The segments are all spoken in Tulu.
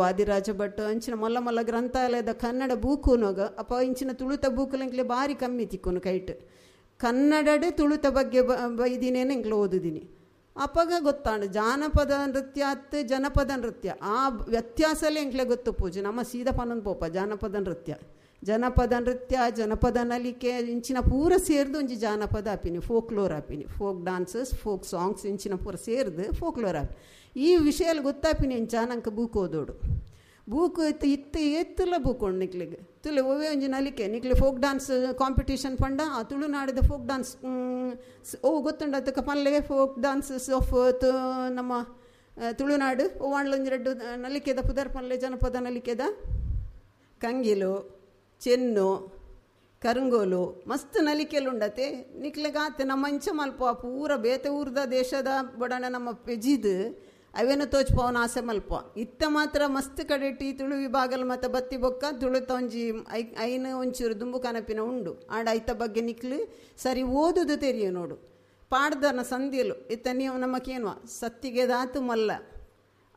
ವಾದಿರಾಜ ಭಟ್ ಅಂಚಿನ ಮಲ್ಲ ಮಲ್ಲ ಗ್ರಂಥಾಲಯದ ಕನ್ನಡ ಬೂಕುನಗ ಅಪ್ಪ ಇಂಚಿನ ತುಳುತ ಬೂಕುಲು ಬಾರಿ ಕಮ್ಮಿ ತಿಕ್ಕುನು ಕೈಟ್. ಕನ್ನಡಡೆ ತುಳುತ ಬಗ್ಗೆ ಬೈದಿನೇನು ಎಂಕ್ಲೆ ಓದುದಿನಿ. ಅಪ್ಪಗ ಗೊತ್ತಾಂಡು ಜಾನಪದ ನೃತ್ಯ ಅತ್ತು ಜನಪದ ನೃತ್ಯ ಆ ವ್ಯತ್ಯಾಸಲೇ ಎಂಕ್ಲೆ ಗೊತ್ತು ಪೂಜೆ. ನಮ್ಮ ಸೀದಾ ಪನ್ನೊಂದು ಪೋಪ ಜಾನಪದ ನೃತ್ಯ, ಜನಪದ ನೃತ್ಯ, ಜನಪದ ನಲಿಕೆ ಇಂಚಿನ ಪೂರ ಸೇರ್ದು ಒಂಜಿ ಜಾನಪದ ಆಪಿನಿ, ಫೋಕ್ಲೋರ್ ಆಪಿನಿ, ಫೋಕ್ ಡಾನ್ಸಸ್, ಫೋಕ್ ಸಾಂಗ್ಸ್ ಇಂಚಿನ ಪೂರ ಸೇರ್ದು ಫೋಕ್ಲೋರ್ ಆಪಿ. ಈ ವಿಷಯ ಗೊತ್ತಾಪಿನಿ ಇಂಚ ನಂಗೆ ಬೂಕ್ ಓದೋಡು. ಬೂಕು ಇತ್ತು ಇತ್ತು ಏತ್ತುಲ ಬೂಕು ಉಂಡು ನಿಕ್ಲಿಗೆ ತುಲೆ ಒವ್ವೇ ಒಂಜಿ ನಲಿಕೆ ನಿಕ್ಲೆ ಫೋಕ್ ಡಾನ್ಸ್ ಕಾಂಪಿಟೇಷನ್ ಪಂಡ ಆ ತುಳುನಾಡಿದ ಫೋಕ್ ಡಾನ್ಸ್ ಓ ಗೊತ್ತುಂಡು ಅದಕ್ಕೆ ಪಲ್ಲೆ ಫೋಕ್ ಡಾನ್ಸಸ್ ಆಫ್ ನಮ್ಮ ತುಳುನಾಡು ಓವಾಂಡ್ಲೊಂಜಿ ರಡ್ಡು ನಲಿಕೆದ ಪುದರ್ ಪಲ್ಲೆ ಜನಪದ ನಲಿಕೆದ ಕಂಗಿಲು, ಚೆನ್ನು, ಕರಂಗೋಲು ಮಸ್ತ್ ನಲಿಕೆಲುಂಡತೆ ನಿಕ್ಲೆಗಾತೆ ನಮ್ಮ ಇಂಚ ಮಲ್ಪ ಪೂರ ಬೇತೆ ಊರ್ದ ದೇಶದ ಬಡಣ ನಮ್ಮ ಪೆಜಿದು ಅವೇನು ತೋಚ್ಪವನ ಆಸೆ ಮಲ್ಪ. ಇತ್ತ ಮಾತ್ರ ಮಸ್ತ್ ಕಡೆಟಿ ತುಳು ವಿಭಾಗಲ್ ಮತ್ತು ಬತ್ತಿ ಬೊಕ್ಕ ತುಳುತ ಒಂಜಿ I ಐನು ಒಂಚೂರು ದುಂಬು ಕನಪಿನ ಉಂಡು. ಆಂಡ ಐತ ಬಗ್ಗೆ ನಿಕ್ಲು ಸರಿ ಓದುದು ತೆರಿಯು ನೋಡು. ಪಾಡ್ದನ ಸಂಧಿಲು ಇತ್ತ ನೀವು ನಮಕೇನುವ ಸತ್ತಿಗೆದಾತು ಮಲ್ಲ,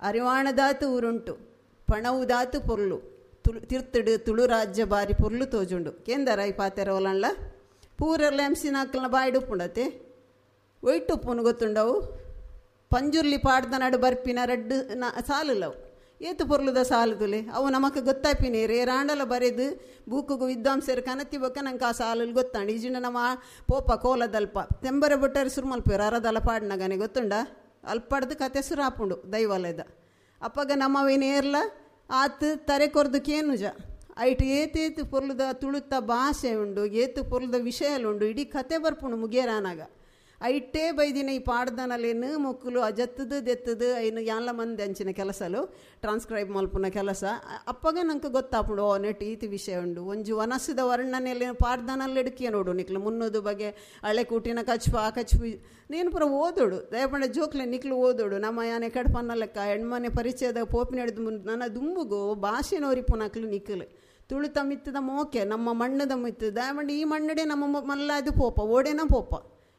ಅರಿವಾಣದಾತು ಊರುಂಟು, ಪಣವುದಾತು ಪೊರ್ಲು, ತುಳು ತಿರ್ತುಡು ತುಳು ರಾಜ್ಯ ಬಾರಿ ಪೊರ್ಲು ತೋಜುಂಡು. ಕೇಂದರ ಈ ಪಾತೆರ ಒಲಂಡ್ಲ ಪೂರೆಲ್ಲ ಎಂಸಿನಾಕಲ್ನ ಬಾಯ್ಡುಪ್ಪುಂಡತೆ ಒಯ್ಟುಪ್ಪುನು ಗೊತ್ತುಂಡವು. ಪಂಜುರ್ಲಿ ಪಾಡ್ದ ನಡು ಬರ್ಪಿನ ರಡ್ಡು ಸಾಲುಲವು ಏತು ಪೊರ್ಲುದ ಸಾಲು ತುಲೆ ಅವು ನಮಕ್ ಗೊತ್ತಾಪಿನಿ ರೇರಾಂಡಲ ಬರೆದು ಬೂಕುಗು ವಿದ್ವಾಂಸರು ಕನತಿ ಬೊಕ್ಕ ನಂಗೆ ಆ ಸಾಲುಲು ಗೊತ್ತಾಂಡು. ಈಜಿಂಡ ನಮ್ಮ ಪೋಪ ಕೋಲದಲ್ಪ ತೆಂಬರ ಬೊಟ್ಟರು ಸುರು ಮಲ್ಪೇರು ಅರದಲ ಪಾಡ್ನಗನೆ ಗೊತ್ತುಂಡ ಅಲ್ಪಡ್ದು ಕತೆ ಸುರಾಪುಂಡು ದೈವಾಲಯದ. ಅಪ್ಪಗ ನಮ್ಮವೇನೇರ್ಲ ಆತು ತರೆ ಕೊರ್ದು ಕೇನುಜ ಐಟ್ ಏತೇತು ಪೊರ್ಲುದ ತುಳುತ ಭಾಷೆ ಉಂಡು, ಏತು ಪೊರ್ಲುದ ವಿಷಯಲು ಉಂಡು, ಇಡೀ ಕತೆ ಬರ್ಪುಂಡು ಮುಗಿಯರಾನಾಗ. ಐಟೇ ಬೈದಿನ ಈ ಪಾಡ್ದನಲೇನು ಮೊಕ್ಕಲು ಅಜತ್ತದು ದೆತ್ತದು ಐನು ಯಾನ್ಲ ಮಂದಿ ಅಂಚಿನ ಕೆಲಸಲು ಟ್ರಾನ್ಸ್ಕ್ರೈಬ್ ಮಲ್ಪುನ ಕೆಲಸ. ಅಪ್ಪಗ ನಂಗೆ ಗೊತ್ತಾಪುಂಡು ಓ ನೆಟ್ ಈತಿ ವಿಷಯ ಉಂಡು. ಒಂಜಿ ವನಸ್ಸದ ವರ್ಣನೆಯಲ್ಲಿ ಪಾಡ್ದನಲ್ಲಿ ಎಡ್ಕಿಯ ನೋಡು ನಿಕ್ಲು ಮುನ್ನೋದು ಬಗೆ ಹಳೆ ಕೂಟಿನ ಕಚ್ಪ ಆ ಕಚ್ಪು ನೀನು ಪೂರ ಓದೋಡು ದಯಪಂಡ ಜೋಕ್ಲೆ ನಿಕ್ಲು ಓದೋಡು. ನಮ್ಮ ಯಾನೆ ಕಡ್ಪನ್ನ ಲೆಕ್ಕ ಹೆಣ್ಮನೆ ಪರಿಚಯದ ಪೋಪಿನ ಹಿಡಿದು ನನ್ನ ದುಂಬುಗು ಭಾಷೆನೋರಿಪುನಕ್ಲು ನಿಕ್ಕಲು ತುಳುತ ಮಿತ್ತದ ಮೋಕೆ ನಮ್ಮ ಮಣ್ಣದ ಮಿತ್ತದ ದಯಮಂಡ ಈ ಮಣ್ಣಡೆ ನಮ್ಮ ಮಲ್ಲಾದು ಪೋಪ ಓಡೇನ ಪೋಪ.